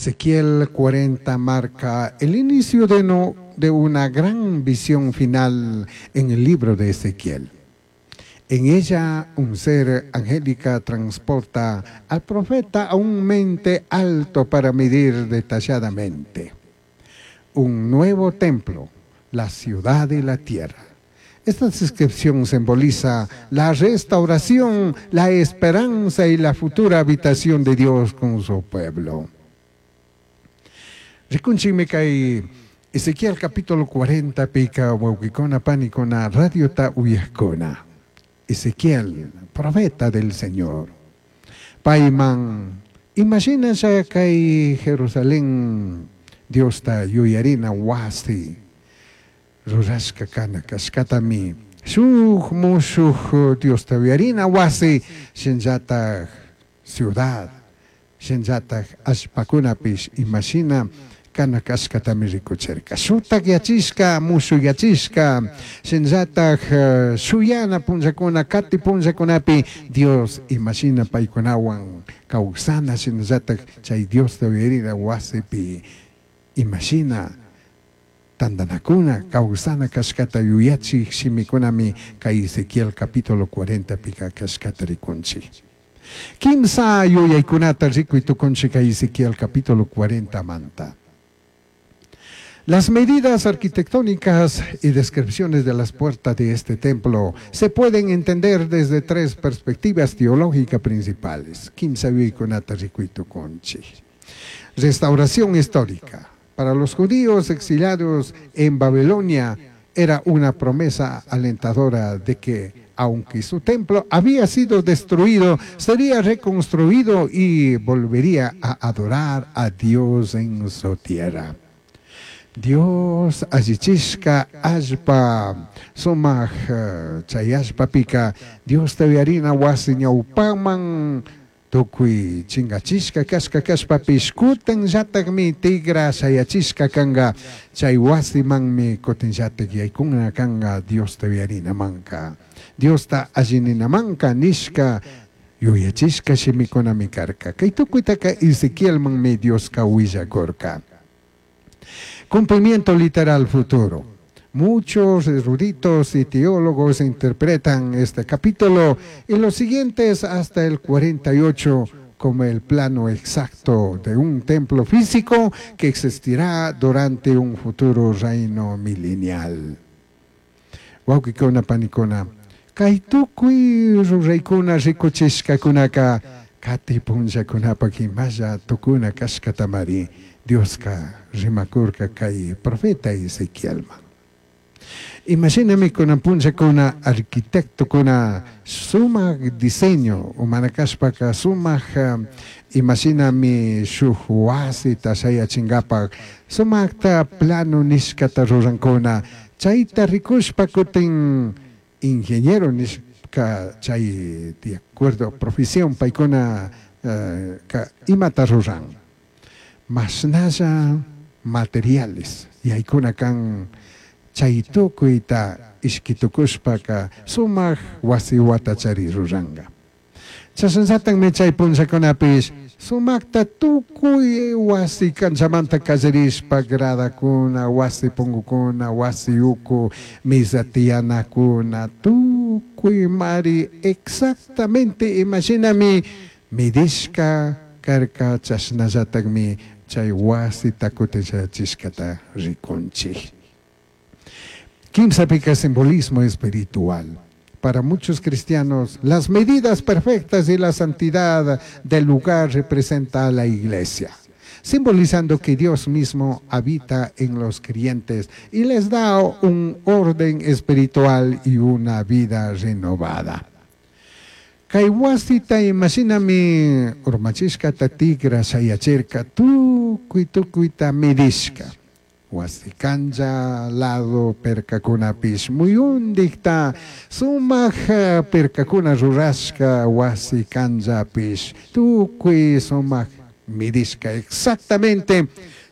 Ezequiel 40 marca el inicio de, no, de una gran visión final en el libro de Ezequiel. En ella un ser angélica transporta al profeta a un mente alto para medir detalladamente un nuevo templo, la ciudad y la tierra. Esta descripción simboliza la restauración, la esperanza y la futura habitación de Dios con su pueblo. Rikunchikmi kay Ezequiel capítulo 40 pika wawqikuna panikuna radiota uyajkuna. Ezequiel, profeta del Señor. Payman, imashina kay Jerusalén Diosta yuyarina wasi rurashka kana kashkatami shuk mushuk Diosta yuyarina wasi shinallatak ciudad shinallatak allpakunapish imashina kana kashkatami rikuchirka shutak yachishka mushuk yachishka shinallatak shuyana punllakuna kati punllakunapi Dios imashina paykunawan kawsana shinallatak chay Diosta yuyarina wasipi imashina tantanakuna kawsana kashkata yuyachik shimikunami kay Ezequiel capítulo 40 pika kashkata rikunchik. Kimsa yuyaykunata rikuy tukunchik kay Ezequiel capítulo 40 manta. Las medidas arquitectónicas y descripciones de las puertas de este templo se pueden entender desde tres perspectivas teológicas principales. Kimsa yuyaykunata rikuy tukunchik. Restauración histórica. Para los judíos exiliados en Babilonia era una promesa alentadora de que, aunque su templo había sido destruido, sería reconstruido y volvería a adorar a Dios en su tierra. Dios allichishka allpa sumak chay allpapika Diosta yuyarina wasi ñawpaman tukuy chingachishka kashka kashpapish kutinllatakmi tigra shayachishka kanka chay wasimanmi kutinllatak yaykuna kanka Diosta yuyarinamanka Diosta allininamanka nishka yuyachishka shimikunami karka kay tukuytaka Ezequielmanmi Dioska willakurka. Cumplimiento literal futuro. Muchos eruditos y teólogos interpretan este capítulo y los siguientes hasta el 48 como el plano exacto de un templo físico que existirá durante un futuro reino milenial. Wawqikuna panikuna, kay tukuy ruraykuna rikuchishkakunaka kati punllakunapak imalla tukuna kashkatamari Dioska rimakurka kay profeta Ezequielman. Imashinami kunan punllakuna arquitectokuna sumak diseño mana kashpaka sumak imashinami shuk wasita shayachinkapak sumakta plano nishkata rurankuna chayta rikushpa kutin ingeniero nishka chay de acuerdo profesión paykuna ka imata ruran mashnalla materiales yaykuna kan chay tukuyta ishkitukushpaka sumak wasi watachari ruranka. Chashnallatami chay punllakunapish sumakta tukuy wasi kanchamanta kallarishpa gradakuna, wasi pungukuna, wasi uku, misa tiyanakuna, tukuy mari exactamente imashinami midishka karka chashnallatakmi chay wasita kutin shayachishkata rikunchik. Kimsapika simbolismo espiritual. Para muchos cristianos, las medidas perfectas y la santidad del lugar representa a la iglesia, simbolizando que Dios mismo habita en los creyentes y les da un orden espiritual y una vida renovada. Kay wasita imashinami urmachishkata tigra shayachirka tukuy tukuyta midishka. Wasi kancha lado perkakunapish muyundikta sumak perkakuna rurashka wasi kanchapish tukuy sumak midishka exactamente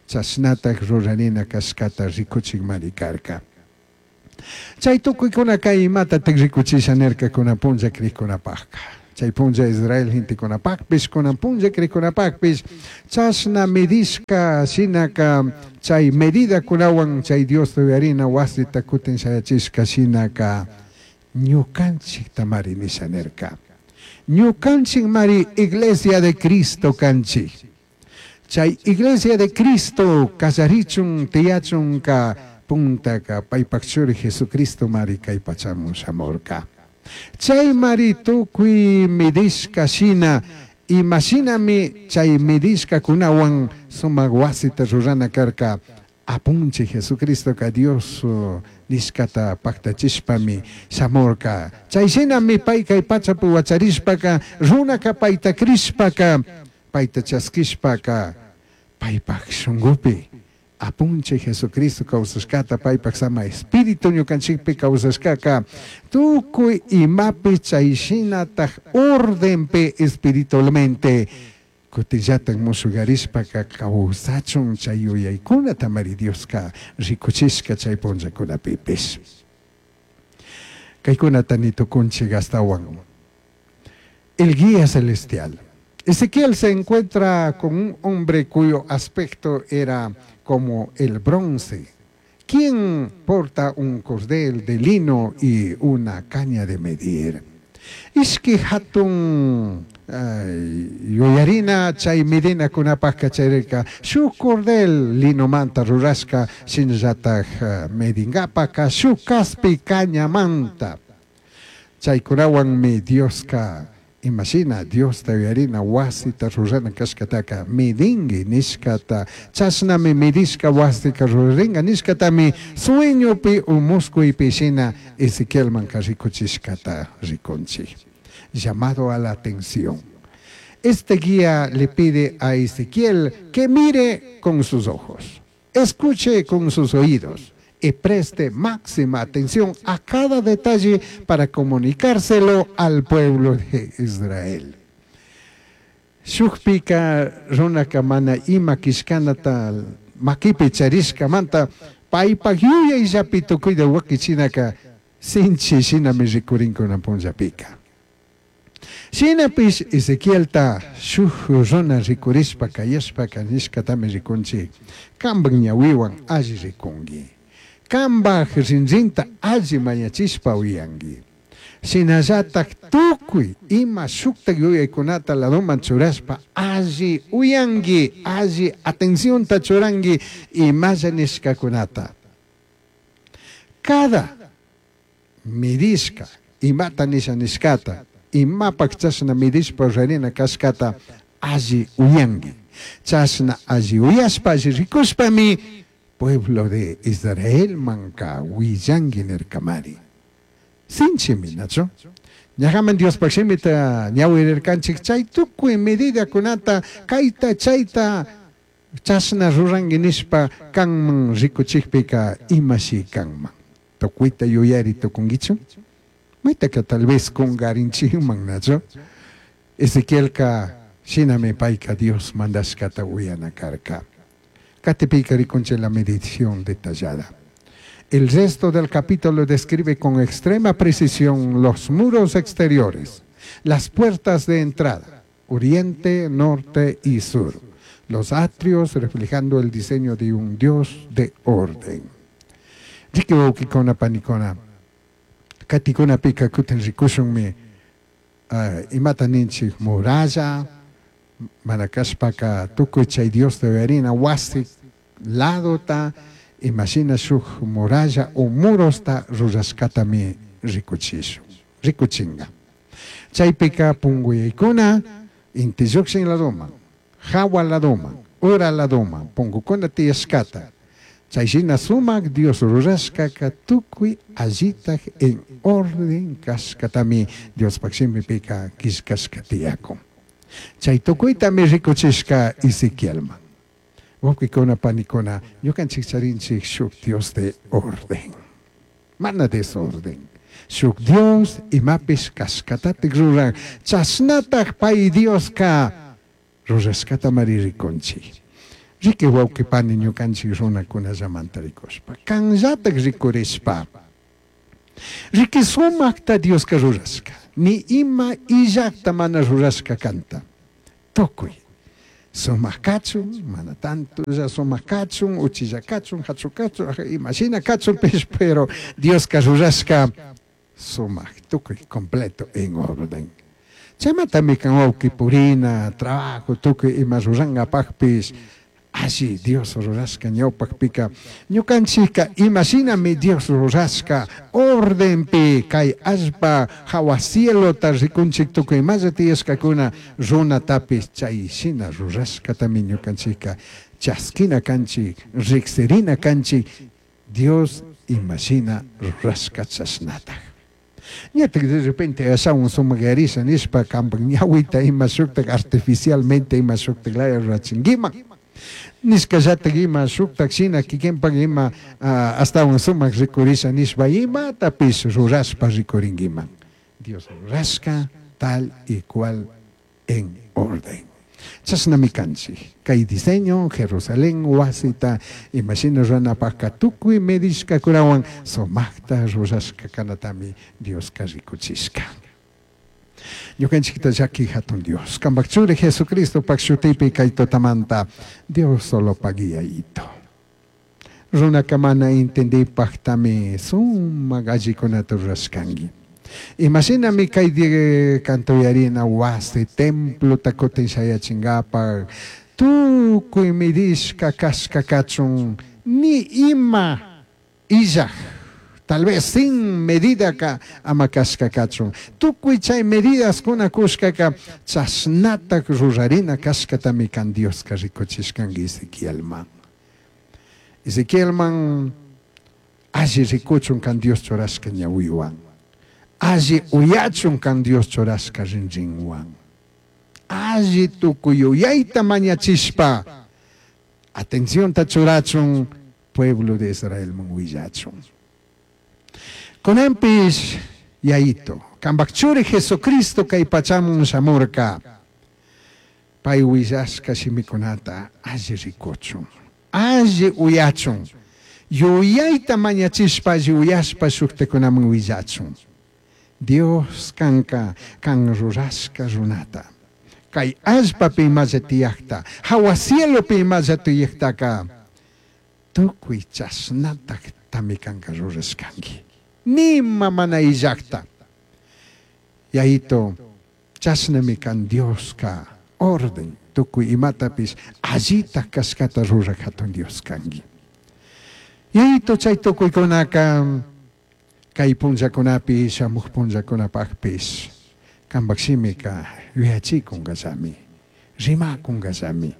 chashnatak rurarina kashkata rikuchikmari karka. Chay tukuykuna kay imatatak rikuchisha nirkakuna punlla krikkunapakka. Chay punlla Israel gentecunapajpish, kunan punlla cricunapajpish, chashna medishka shinaka chay medidakunawan chay Diosta uyarina wasita kutin shayachishka shinaka ñukanchiktamari nisha nirka. Ñukanchikmari Iglesia de Cristo kanchik. Chay Iglesia de Cristo kallarichun tiyachunka puntaka paypak churi Jesucristo mari kay pachamun shamurka. Chay mari tukuy medishka shina imashinami chay medishkakunawan sumak wasita rurana karka apunchik Jesucristoka Dios nishkata paktachishpami shamurka. Chay shinami pay kay pachapi wacharishpaka runaka payta crishpaka payta chaskishpaka paypak shunkupi apunchik Jesucristo kawsashkata paypak sama espíritu ñukanchikpi kawsashkaka tukuy imapi chay shinataj ordenpi espiritualmente kutinllatak mushugarishpaka kawsachun chay yuyaykunata mari Dioska rikuchishka chay punllakunapipish. Kaykunata nitukunchik astawan. El guía celestial. Ezequiel se encuentra con un hombre cuyo aspecto era como el bronce, quien porta un cordel de lino y una caña de medir. Ishki hatun yuyarina chay medinakunapajka chayrika shuk cordel linomanta rurashka shinallataj medinkapaka shuk kaspi cañamanta. Chaykunawanmi Dioska imashina Diosta uyarina wasita rurana kashkataka medinki nishkata chashnami medishka wasika rurarinka nishkatami sueñopi u muskuypi shina Ezequielmanka rikuchishkata rikunchik. Llamado a la atención. Este guía le pide a Ezequiel que mire con sus ojos, escuche con sus oídos y preste máxima atención a cada detalle para comunicárselo al pueblo de Israel. Shukpika runaka mana ima kishkanata makipi charishkamanta paypak yuyayllapi tukuyta wakichinaka sinchi shinami rikurinkunan punllapika. Shinapish Ezequielta shuk runa rikurishpa kayashpaka nishkatami rikunchik kanpak ñawiwan alli rikunki. Kanpak rinrinta alli mañachishpa uyanki. Shinallatak tukuy ima shuktak yuyaykunata ladoman churashpa alli uyanki, alli atencionta churanki imalla nishkakunata. Cada midishka imata nisha nishkata, imapak chashna midishpa rurarina kashkata alli uyanki. Chashna alli uyashpa alli rikushpami pueblo de Israel manka willanki nirkamari. Sinchimi, nachu? Ñajaman Diospaq shimita ñawirirkanchik chay tukuy medidakunata kayta chayta chashna ruranki nishpa kanman rikuchikpika imashi kanman. Tukuyta yuyari tukunkichu? Maytaka tal vez kungarinchikman, nachu? Ezequielka shinami payka Dios mandashkata uyana karka. Katipika rikunchik la medición detallada. El resto del capítulo describe con extrema precisión los muros exteriores, las puertas de entrada, oriente, norte y sur, los atrios reflejando el diseño de un Dios de orden. Riki wawkikuna panikuna, katikunapika kutin rikushunmi imata ninchik muralla, mana kashpaka tukuy chay Dios de uyarina wasi ladota, imashina shuk muralla o murosta rurashkatami rikuchishun, rikuchinga. Chaypika punguyaykuna inti llukshin ladoman, hawa ladoman, ura ladoman, pungukuna tiyashkata. Chayshina sumak Dios rurashkaka tukuy allitaj en orden kashkatami Diospaq shimipika killkashka tiyakun. Chay tukuytami rikuchishka Ezequielman. Wawqikuna panikuna, ñukanchik charinchik shuk Dios de orden. Mana desorden. Shuk Dios imapish kashkatatik ruran. Chashnataj pay Dioska rurashkata mari rikunchik. Riki wawqi pani ñukanchik runakunallamanta rikushpa. Kanllatak rikurishpa. Riqui sumajta Dioska rurashka. Ni ima illajta mana rurashka kanta. Tukuy. Sumaq kachun, mana tantolla sumaq kachun, uchilla kachun, hachu kachun, imashina kachunpish, pero Dioska rurashka sumaq, tukuy completo en orden. Chaymantami kan wawqi purina, trabajo, tukuy ima rurankapaqpis, alli Dios rurashka ñawpaqpika ñukanchikka imashinami Dios rurashka ordenpi kay allpa hawa cielota rikunchik tukuy imalla tiyashkakuna runatapis chay shina rurashkatami ñukanchikka chaskina kanchik, riksirina kanchik Dios imashina rurashka chashnataj. Ñatak de repente ashawan sumakyarisha nishpa kampak ñawita ima shuktak artificialmente ima shuktak laya rurachinkiman. Nishkallatak ima shuktak shina kikinpak ima astawan sumak rikurisha nishpa imatapish rurashpa rikurinkiman. Dios rurashka tal y cual en orden. Chashnami kanchik. Kay diseño Jerusalén wasita imashina ruranapakka tukuy medishkakunawan sumakta rurashka kanatami Dioska rikuchishka. Ñukanchikta llaki hatun Dios. Kampak churi Jesucristopak shutipi kay tutamanta Dios solo pagiyayito. Runaka mana entendipaqtami sumak allikunata rurashkanki. Imashinami kay kantuyarina wasi templota kutin shayachinkapak tukuy midishka kashka kachun ni ima illaj tal vez sin medidaka ama kashka kachun tukuy chay medidaskuna kushkaka chashnatak rurarina kashkatami kan Dioska rikuchishkanki Ezequielman. Ezequielman alli rikuchun kan Dios churashka ñawiwan. Alli uyachun kan Dios churashka rinrinwan. Alli tukuy yuyayta mañachishpa atencionta churachun pueblo de Israelman willachun. Kunanpish yayito, kampak churi Jesucristo kay pachamun shamurka. Pay willashka shimikunata alli rikuchun, alli uyachun, yuyayta mañachishpa alli uyashpa shuktakunaman willachun. Dios kanka kan rurashka runata. Kay allpapi imalla tiyakta, hawa cielopi imalla tiyaktaka, tukuy chashnatak tami kanka rurashkanki. Nima mana illakta. Yayito, chashnami kan Dioska orden tukuy imatapis allita kashkata rurak hatun Dios kanki. Yayito chay tukuykunaka kay punllakunapi shamuq punllakunapaqpis kampak shimika yuyachikunkallami, rimakunkallami.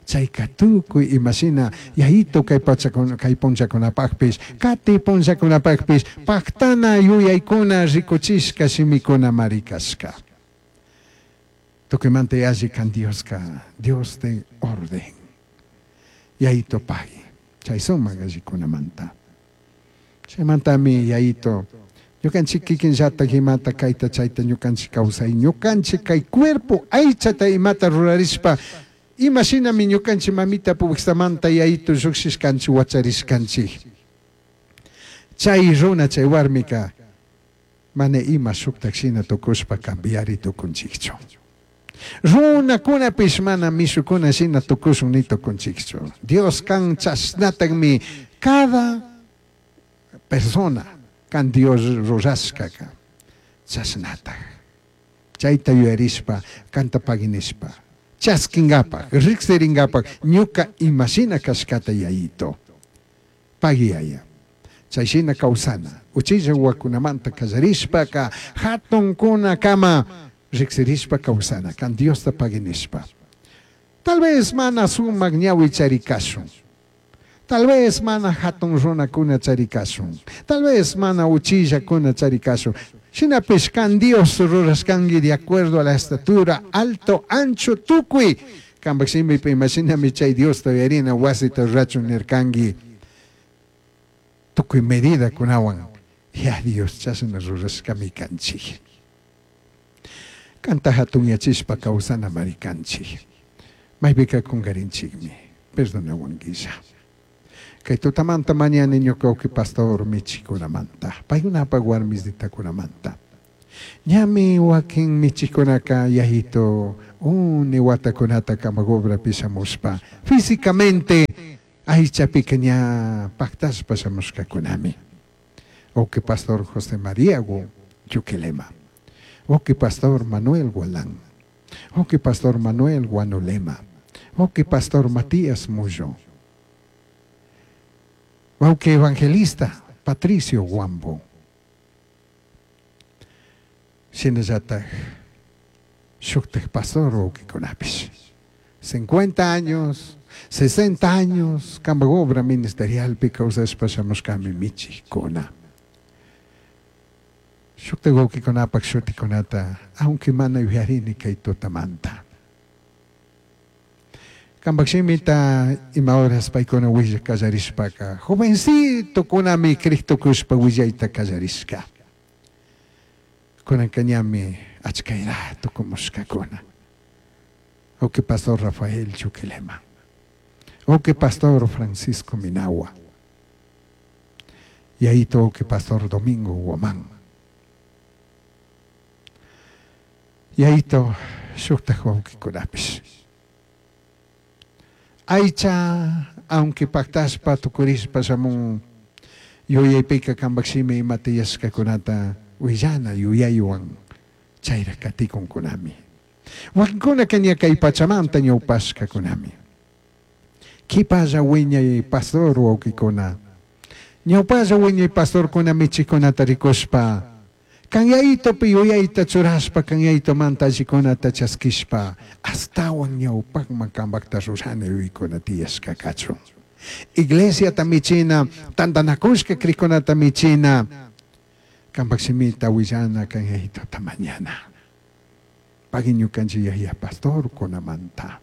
Chayka tukuy imashina yayito kay pachakuna kay punllakunapaqpis kati punllakunapaqpis paktana yuyaykuna rikuchishka shimikuna marikashka. Tukuymanta yalli kan Dioska, Dios de orden. Yayito pagui, chay sumak allikunamanta. Chaymantami yayito, ñukanchik kikinllatak imata kayta chayta ñukanchik kawsay, ñukanchik kay cuerpo aychata imata rurarishpa, imashinami ñukanchik mamita puwiksamanta yayito llukshishkanchik wacharishkanchik. Chay runa, chay warmika, mana ima shuktak shina tukushpa cambiari tukunchikchu. Runakunapish mana mishukuna shina tukushun ni tukunchikchu. Dios kan chashnatakmi cada persona kan Dios rurashkaka chashnatak. Chayta yuyarishpa kanta paginishpa chaskinkapak riksirinkapak ñuka imashina kashkata yayito. Pagiyaya. Chayshina kawsana. Uchilla wawakunamanta kallarishpaka hatunkuna kama riksirishpa kawsana kan Diosta paginishpa. Tal vez mana sumak ñawi charikashun. Tal vez mana hatun runakuna charikashun. Tal vez mana uchillakuna charikashun. Shinapish kan Dios rurashkanki de acuerdo a la estatura, alto, ancho, tukuy. Kampak shimipi imashinami chay Diosta uyarina wasita rurachun nirkanki. Tukuy medida kunawan. Ya Dios chashna rurashkami kanchik. Kanta hatunyachishpa kawsana marikanchik. Maypika kungarinchikmi. Perdonawankilla. Kay tutamanta mañani ñuka wawki pastor michikunamanta, paykunapak warmisitakunamanta. Ñami wakin michikunaka yayito uni watakunata kamak obrapi shamushpa físicamente aychapika ña paktashpa shamushkakunami. Wawki pastor José María Yuquilema, wawki pastor Manuel Gualán, wawki pastor Manuel Guanulema, wawki pastor Matías Mullo, wawki evangelista Patricio Guambo. Shinallataj shuktaj pastor wawkikunapish 50 años, 60 años kampak obra ministerialpi kawsashpa shamushkami michijkuna. Shuktaj wawkikunapak shutikunata aunque mana yuyarini kay tutamanta. Kampak shimita ima horas paykuna willak kallarishpaka jovencitokunami criktukushpa willayta kallarishka. Kunanka ñami achkayra tukumushkakuna. Wawki pastor Rafael Chuquilema, wawki pastor Francisco Minagua, yayito wawki pastor Domingo Guamán, yayito shuktaj wawkikunapish. Aycha, aunque paktashpa tukurishpa shamun yuyaypika kampak shimi ima tiyashkakunata willana yuyaywan chayra katikunkunami. Wakinkunaka ña kay pachamanta ñawpashkakunami. Kipalla wiñay pastor wawkikuna, ñawpalla wiñay pastorkuna michikunata rikushpa, kan yayitopi yuyayta churashpa, kan yayitomanta allikunata chaskishpa, astawan ñawpakman kampakta rurana yuyaykuna tiyashka kachun. Iglesiata michina, tantanakushka krikunata michina, kampak shimita willana kan yayitota mañana. Pagui ñukanchik yaya pastorkunamanta.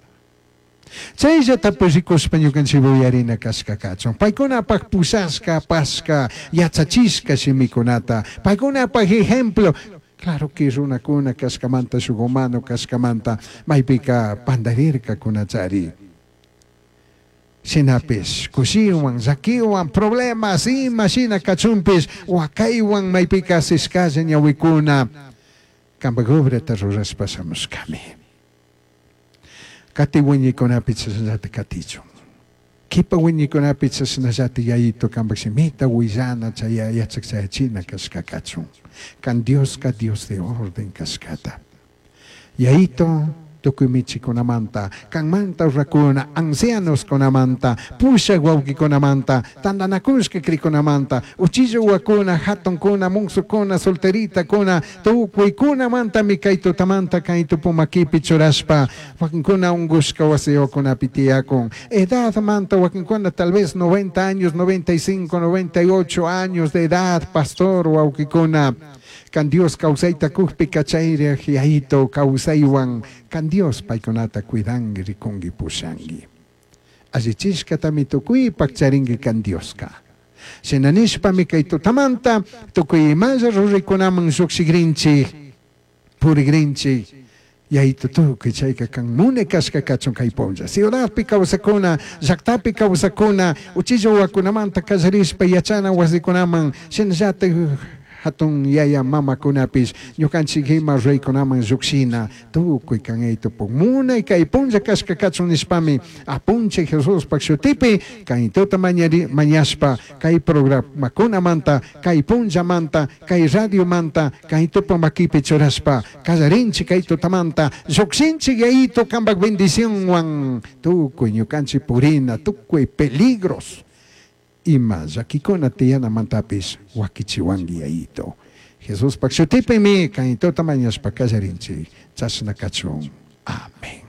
Chayllatapish rikushpa ñukanchik uyarina kashka kachun. Paykunapak pushashka, apashka, yachachishka shimikunata, paykunapak ejemplo. Claro que runakuna kashkamanta, shuk humano kashkamanta, maypika pandarirkakunachari. Shinapish kushiwan, llakiwan, problemas ima shina kachunpish, wakaywan maypika asishkalla ñawikuna, kampak obrata rurashpa shamushkami. Kati wiñaykunapi chashnallata katichun. Kipa wiñaykunapi chashnallata yayito kampak shimita willana chay yachak chayachina kashka kachun. Kan Dioska Dios de orden kashkata. Yayito tukuy michikunamanta, kanmanta urrakuna, ancianoskunamanta, pushak wawkikunamanta, tantanakushka krikunamanta, uchilla uwakuna, hatunkuna, munsukuna, solteritakuna, tukuykunamantami kay tutamanta kay tupumakipi churashpa, wakinkuna ungushka wasiyukunapi tiyakun, edadmanta wakinkuna tal vez 90 años, 95, 98 años de edad, pastor wawkikuna, kan Dios kawsayta kukpi kachayriaj yayito kawsaywan, kan Dios paykunata cuidanki, rikunki, pushanki. Allichishkatami tukuypak charinki kan Dioska. Shina nishpami kay tutamanta tukuy imalla ruraykunaman llukshikrinchik, purikrinchik, yayito tukuy chayka kan munay kashka kachun kay punlla. Ciudadpi kawsakuna, llaktapi kawsakuna, uchilla wawakunamanta kallarishpa yachana wasikunaman, shinallatak hatun yaya mamakunapish ñukanchik ima reykunaman llukshina tukuy kan aytupuk munay kay punlla kashka kachun nishpami apunchik Jesuspak shutipi kaytuta mañashpa kay programakunamanta kay punllamanta kay radiomanta kaytupa makipi churashpa kallarinchik kay tutamanta llukshinchik yayito kampak bendicionwan tukuy ñukanchik purina tukuy peligros ima llakikuna tiyanamantapish wakichiwanki yayito. Jesuspak shutipimi kaytuta mañashpa kallarinchik chashna kachun. Amén.